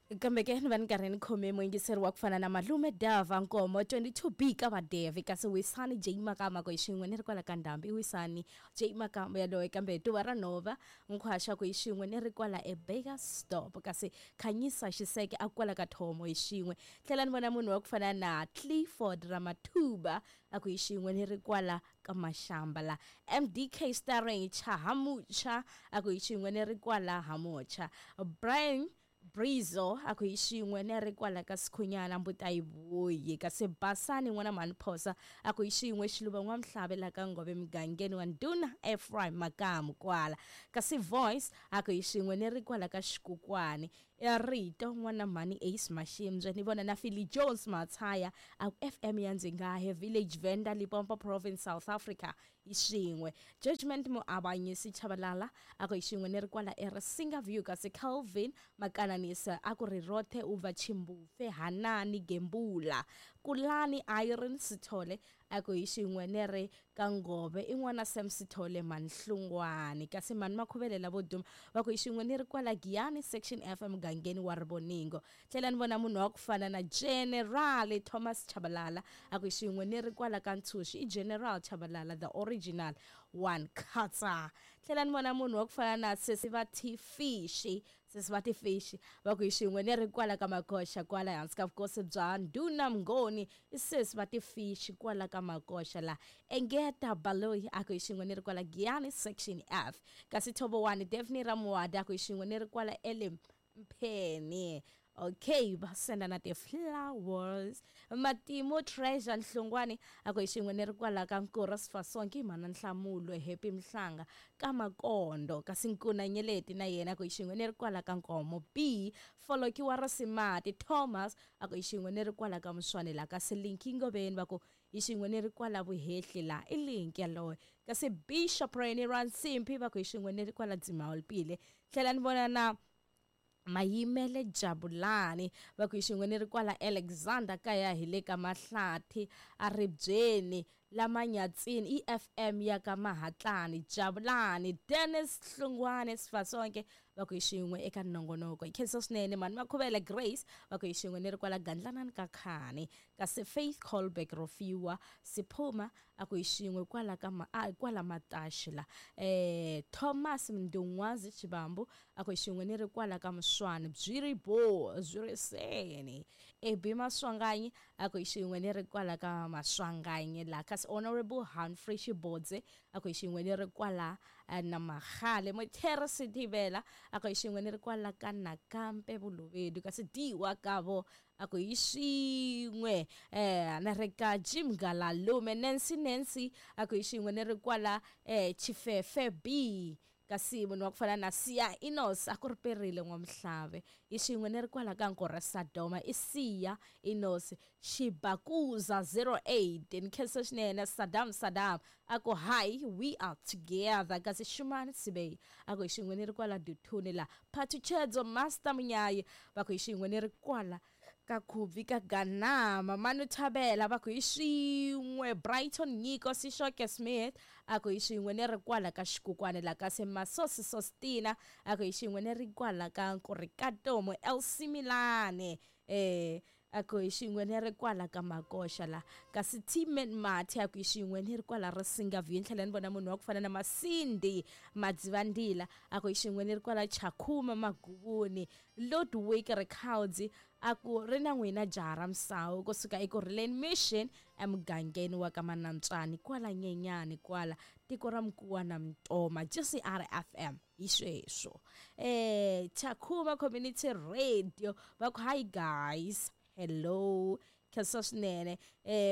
Kambe ke ni va ni karhi ni khome muyingiseri wa ku fana na Malume Dava Nkomo 22B ka Vadevi, kasi Wisani J Makama ku hi xin'we ni ri kwala ka Ndhambi. I Wisani J Makama yaloye, kambe Tuva ra Nhova Nkhwaxa ku hi xin'we ni ri kwala eBurgersdorp, kasi Khanyisa Xiseke a kwala ka Thomo hi xin'we. Tlhela ni vona munhu wa ku fana na Clifford Ramathuba a ku hi xin'we ni ri kwala ka Mashamba la. MDK starring Chahamucha a ku hi xin'we ni ri kwala Hamucha. Brian Brizo a ku hi xin'we ni ri kwala ka Sikhunyana mbuta yi vuyi, kasi Basani n'wana mhani Phosa a ku hi xin'we Xiluva N'wamhlave la ka Ngove mugangeni wa Ndhuna Ephraim Makamu kwala, kasi Voice a ku hi xin'we ni ri kwala ka Xikukwani. Rito n'wana mhani Ace Mashimbye ni vona na Philly Jones Matshaya a ku FM ya Ndzingahe Village Venda Limpopo Province South Africa hi xin'we. Judgment Muavanyisi Chabalala a ku hi xin'we ni ri kwala eRisinga View, kasi Calvin Makananisa a ku ri rothe u bva Chimbufe Hanani Gembula. Kulani Irene Sithole a ku hi xin'we ni ri ka Ngove i n'wana Sam Sithole Manhlungwani, kasi Mani Makhuvele lavo duma va ku hi xin'we ni ri kwala Giyani Section F emugangeni wa Rivoningo. Tlhela ni vona munhu wa ku fana na General Thomas Chabalala a ku hi xin'we ni ri kwala ka Ntshuxi, i General Chabalala the original one khatsa. Tlhela ni vona munhu wa ku fana na Sesi va Tifishi, Sesi va Tifishi va ku hi xin'we ni ri kwala ka Makoxa kwala hansi ka vukosi bya Ndhuna Mngoni, i Sesi va Tifishi kwala ka Makoxa la. Engeta Baloyi a ku hi xin'we ni ri kwala Giyani Section F, kasi Thobowani Daphne Ramuwadi a ku hi xin'we ni ri kwala Elim Mpheni. Okay, va senda na ti-flowers. Matimu Treasure Nhlungwani a ku hi xin'we ni ri kwala ka Nkura Sifasonke mhana Nhlamulo Happy Mhlanga ka Makondo, kasi Nkuna Nyeleti na yena a ku hi xin'we ni ri kwala ka Nkomo B. Folokiwa Rasimati Thomas a ku hi xin'we ni ri kwala ka Muswane la, kasi Linki Ngoveni va ku hi xin'we ni ri kwala Vuhehli la, i Linki yaloye, kasi Bishop Reni Ransimpi va ku hi xin'we ni ri kwala Dzimawulpile. Tlhela ni vona na Mayimele Jabulani va ku hi xin'we ni ri kwala Alexander kaya hi le ka Mahlathi a ribyeni la Manyatsini, EFM ya ka Mahatlani. Jabulani Dennis Hlungwane Sifasonke va ku hi xin'we eka nongonoko. Hi khensa swinene Mani Makhuvele Grace va ku hi xin'we ni ri kwala Gandlanani ka Khani, kasi Faith Colberg Rofiwa Siphuma a ku hi xin'we kwala ka kwala Mataxi la. Thomas Mndungwazi Chibambu a ku hi xin'we ni ri kwala ka Muswani byi ri bo byi ri seni. Ebi Maswanganyi a ku hi xin'we ni ri kwala ka Maswanganyi la, kasi Honorable Humphrey Xibodze a ku hi xin'we ni ri kwala na Magale. Muthere Sithibela a ku hi xin'we ni ri kwala ka Nakampe Bolobedu, kasi Diwa Kabo a ku hi xin'we na ri ka Jim Galalume. Nancy Nancy a ku hi xin'we ni ri kwala Chifefe B, kasi munhu wa ku fana na Siya Enos a ku ri perile N'wamuhlave hi xin'we ni ri kwala ka Nkorha Sadoma, i Siya Enos Xibakuza 08. Ni khensa swinene Saddam Saddam a ku hi we are together, kasi Shumani Sibei a ku hi xin'we ni ri kwala Duthuni la. Phathuchedzo Master Munyayi va ku hi xin'we ni ri kwala ka Khubi ka Ganama. Manu Thabela va ku hi xin'we. Brighton Nyiko Sishoke Smith a ku hi xin'we ni ri kwala ka Xikukwane la, kasi Masosi Sostina a ku hi xin'we ni ri kwala ka Nkurikatomo LC Milane a ku hi xin'we ni ri kwala ka Makoxa la, kasi Timen Mati a ku hi xin'we ni ri kwala Risinga View. Ni tlhela ni vona munhu wa ku fana na Masindi Madzivandila a ku hi xin'we ni ri kwala Chakhuma Maguvuni. Ludwig Rikhawudzi a ku ri na n'wina jaha ra misawu kusuka eKurhuleni Mission emugangeni wa ka Manantswani kwala Nyenyani kwala tiko ra Mkuwa na Mtoma. GCR FM hi sweswo. Chakhuma Community Radio va ku hi guys, hello. Khensa swinene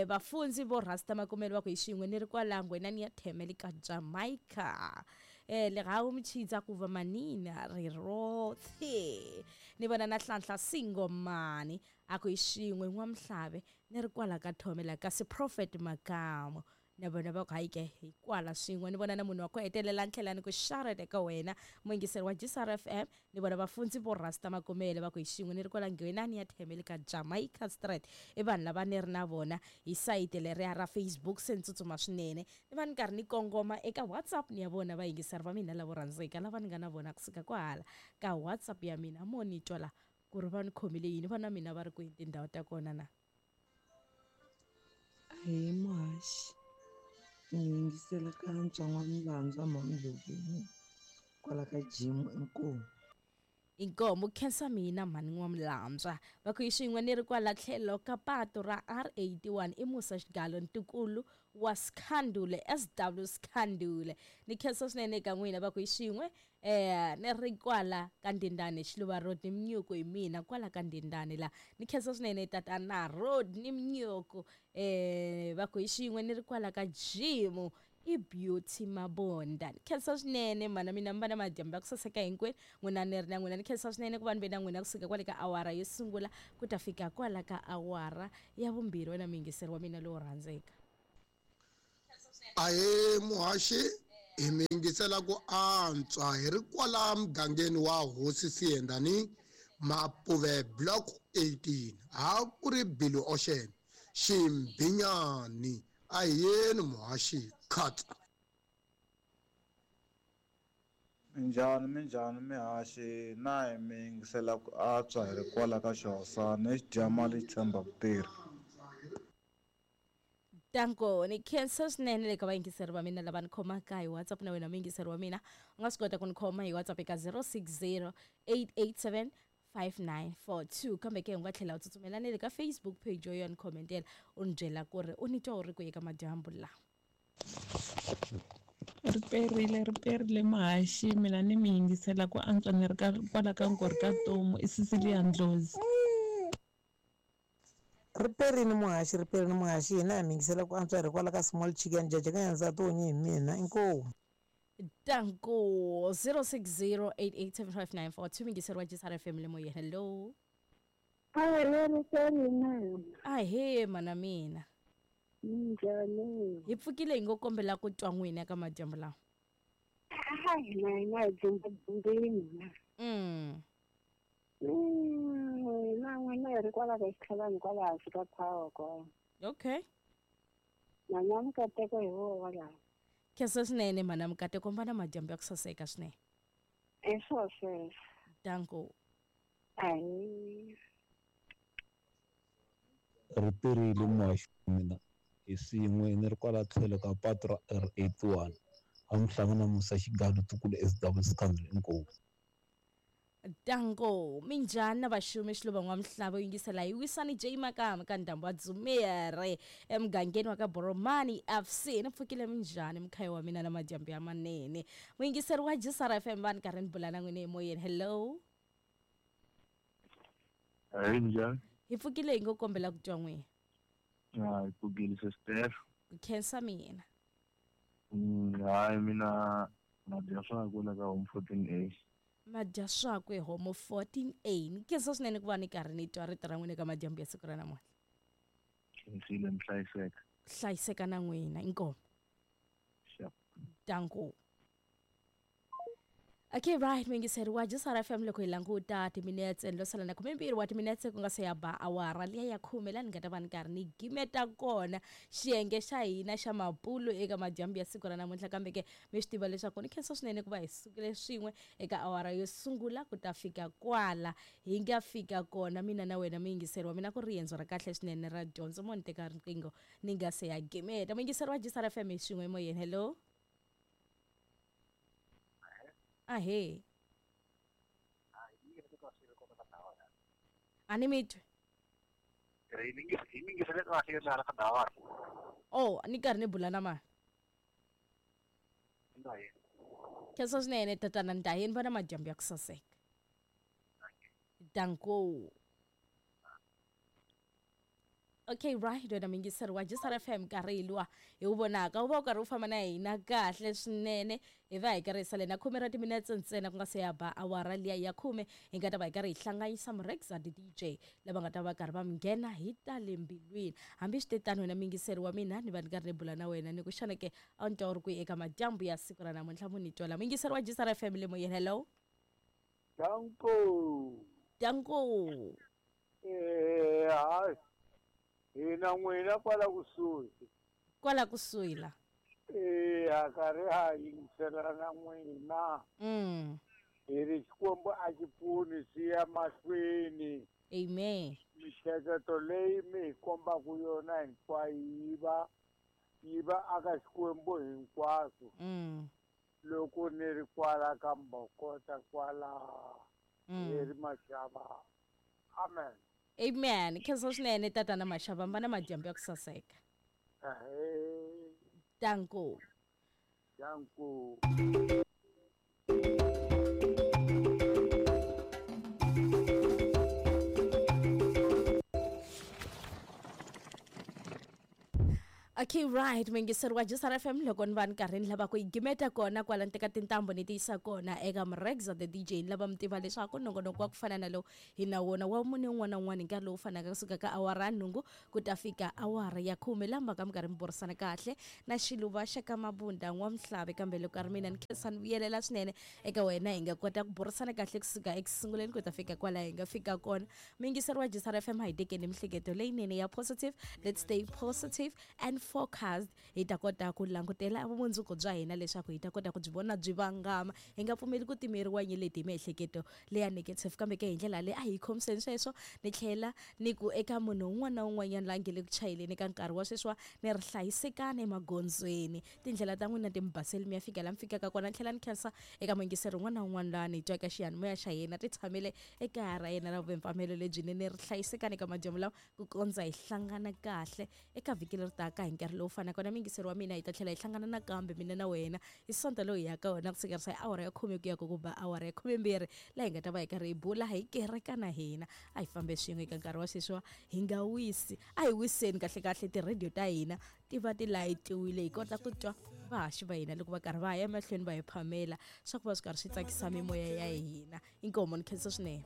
vafundzi vo Rasta Makumelo va ku hi xin'we ni ri kwala Ngwenani ya Themele ka Jamaica. Lerhawu Mchidza ku va manina ri rothe. Ni vona na Hlanhla Singomani a ku hi xin'we N'wamuhlave ni ri kwala ka Thomela, kasi Prophet Makamo na vona va ku hayi ke hi kwala swin'we. Ni vona na munhu wa ku hetelela ni tlhela ni ku xarete eka wena muyingiseri wa GCR FM. Ni vona vafundzi vo Rasta Makumele va ku hi xin'we ni ri kwala Ngwenani ya Themele ka Jamaica Street. I vanhu lava ni ri na vona hi sayiti leriya ra Facebook, se ni tsutsuma swinene ni va ni karhi ni kongoma eka WhatsApp ni ya vona vayingiseri va mina lavo rhandzeka lava ni nga na vona kusuka kwahala ka WhatsApp ya mina mo ni twa la. ku ri va ni khomile yini va na mina va ri kwihi tindhawu ta kona na. Ahee muhaxi, ni yingisela ka ntswan'wa Milandzwa Mhani kwala ka gym inkomu. Inkomu khensa mina mhani N'wamilandzwa va ku hi xin'we ni ri kwala tlhelo ka patu ra R81 i Musa Xigalo ntukulu wa Skhandule SW Skhandule ni khensa swinene eka n'wina va ku hi xin'we ni ri kwala ka Ndindane Xiluva Road ni Mnyuku hi mina kwala ka Ndindane la ni khensa swinene tatana Road ni Mnyuku va ku hi xin'we ni ri kwala ka gym i Beauty Mabonda ni khensa swinene mana mina mi va na madyambu ya ku saseka hinkwenu n'wina ni ri na n'wina ni khensa swinene ku va ni ve na n'wina kusuka kwale ka awara yo sungula ku ta fika kwala ka awara ya vumbirhi wena muyingiseri wa mina lowo rhandzeka. Ahee muhaxi hi mi yingisela ku antswa hi ri kwala mugangeni wa Hosi Siyendani Mapuve Block 18 ha ku ri Billy Ocean Ximbinyani a hi yeni muhaxi khatsa. Minjhani minjhani mihaxi na hi mi yingisela ku antswa hi ri kwala ka Xihosana i xidyamali xi tshemba ku tirha. Danko ni khensa swinene le ka vayingiseri va mina lava ni khomaka hi WhatsApp na wena muyingiseri wa mina u nga swi kota ku ni khoma hi WhatsApp eka 060 887 5942 kambe ke u nga tlhela u tsutsumela ni le ka Facebook page yo ya ni khomentela u ni byela ku ri u ni twa u ri kwihi ka madyambu lawa. Ri perile ri perile muhaxi mina ni mi yingisela ku antswa ni ri ka kwala ka Nkorhi ka Tomu i Cecilia Ndlozi. Ri perile muhaxi ri perile muhaxi hina hi mi yingisela ku antswa hi ri kwala ka Small Chicken Jaja ka nyansati onye hi mina inkomu. Danko 0608875942 muyingiseri wa JSR FM le moyeni. Hello. Ahee mana mina. Minjhani? Hi pfukile hi ngo kombela ku twa n'wina ka madyambu lawa. Hayi na hina hi dzumba-dzumbeni. Na n'wina hi ri kwala ka xitlhavani kwala hansi ka power kwala. Okay. Mana Mukateko hi voho laha. Khensa swinene mana Mukateko va na madyambu ya ku saseka swinene. I swo sweswo. Danko. Ahee. Ri perile muhaxi wa mina hi swin'we ni ri kwala tlhelo ka patu ra R81 a mi hlangana Musa Xigalo ntukulu SW Scandal inkomu. Danko minjhani na vaxumi Xiluva N'wamihlava u yingisela hi Wisani J Makama ka ndhambu wa Dzumere emugangeni wa ka Boromani FC ni pfukile minjhani mkhaya wa mina na madyambu ya manene muyingiseri wa JSR FM va ni karhi ni bula na n'wina emoyeni. Hello. Ahee minjhani? Hi pfukile hi ngo kombela ku twa n'wina. Hi pfukile sister. Ku khensa mina. Hayi mina madya swakwe la ka Home 14A. Madya swakwe Home 14A ni khensa swinene ku va ni karhi ni twa rito ra n'wina ka madyambu ya siku ra namuntlha. Khensile mi hlayiseka. Hlayiseka na n'wina inkomu. Sure. Danko. Okay, right, muyingiseri wa JSR FM loko hi languta timinetse lo sala na 12 wa timinetse ku nga se ya ba awara liya ya 10 laha ni nga ta va ni karhi ni gimeta kona xiyenge xa hina xa mapulu eka madyambu ya siku ra namuntlha kambe ke mi swi tiva leswaku ni khensa swinene ku va hi sukile swin'we eka awara yo sungula ku ta fika kwala hi nga fika kona mina na wena muyingiseri wa mina ku riendzo ra kahle swinene ra dyondzo mo ni teka riqingho ni nga se ya gimeta muyingiseri wa JSR FM hi swin'we emoyeni. Hello. Ahee. A ni mi twi. Oh, ni karhi ni bula na mani. Khensa swinene tatana Ndayeni va na madyambu ya ku saseka. Danko. Okay, right, wena muyingiseri wa JSR FM nkarhi hi luwa hi wu vonaka wu va wu karhi wu famba na hina kahle swinene hi va hi karhi hi sale na 10 ra timinetse ntsena ku nga se ya ba awara liya ya 10 hi nga ta va hi karhi hi hlanganyisa Murexa DJ lava nga ta va karhi va mi nghena hi ta le mbilwini hambi swi te tano wena muyingiseri wa mina ni va ni karhi ni bula na wena ni ku xana ke a wu ni twa u ri kwihi eka madyambu ya siku ra namuntlha mu ni twela muyingiseri wa JSR FM le moyeni. Hello. Danko. Danko. Hayi. Hina n'wina kwala kusuhi. Kwala kusuhi la. Ha karhi ha yingisela na n'wina. Hi ri Xikwembu a xi pfuni swi ya mahlweni. Amen. Mihleketo leyi mi hi kombaka yona hinkwayo yi va aka Xikwembu hinkwaswo. Loko ni ri kwala ka Mbokota kwala hi ri Maxava. Amen. Amen. Khensa swinene tatana Maxava, mbana madyambu ya ku saseka. Danko. Danko. Okay, right. Muyingiseri wa Juice FM loko ni va ni karhi ni lava ku yi gimeta kona kwala ni teka tintambu ni ti yisa kona eka Mrexa the DJ, ni lava mi tiva leswaku nongonoko wa ku fana na lowu hi na wona wa mune wun'wana na wun'wana hi nkarhi lowu fanaka kusuka ka awara ya 8 ku ta fika awara ya 10, lamba ka mi karhi mi burisana kahle na xiluva xa ka Mabunda N'wamhlavi. Kambe loko ka ri mina ni khensa ni vuyelela swinene eka wena, hi nga kota ku burisana kahle kusuka ekusunguleni ku ta fika kwala hi nga fika kona. Muyingiseri wa Juice FM, a hi tekeni mihleketo leyinene ya positive. Let's stay positive and focused. Hi ta kota ku langutela vumundzuku bya hina leswaku hi ta kota ku byi vona byi vangama, hi nga pfumeli ku timeriwa nyeleti hi miehleketo leya negative. Kambe ke hi ndlela leyi a hi khomiseni sweswo, ni tlhela ni ku eka munhu un'wana na un'wanyana la nge le ku chayeleni ka nkarhi wa sweswiwa, ni ri hlayisekani emagondzweni, tindlela ta n'wina ti mi baseli mi ya fika la mi fikaka kona. Ni tlhela ni khensa eka muyingiseri un'wana na un'wana laha ni twaka xiyanimoya xa yena ti tshamele ekaya ra yena ra vumpfamelo lebyinene. Ri hlayisekani eka madyambu lawa ku kondza hi hlangana kahle eka vhiki leri taka hi nkarhi lowu fanaka na. Muyingiseri wa mina, hi ta tlhela hi hlangana nakambe mina na wena hi Sonto lowu hi yaka wona kusukerisa hi awara ya 10 ku ya ku ba awara ya 12, laha hi nga ta va hi karhi hi bula hi kereka na hina. A hi fambe swin'we eka nkarhi wa sweswiwa, hi nga wisi, a hi wiseni kahlekahle tirhediyo ta hina ti va ti layitiwile, hi kota ku twa vahaxi va hina loko va karhi va ya emahlweni va hi phamela swa ku va swi karhi swi tsakisa mimoya ya hina. Inkomo, ni khensa swinene.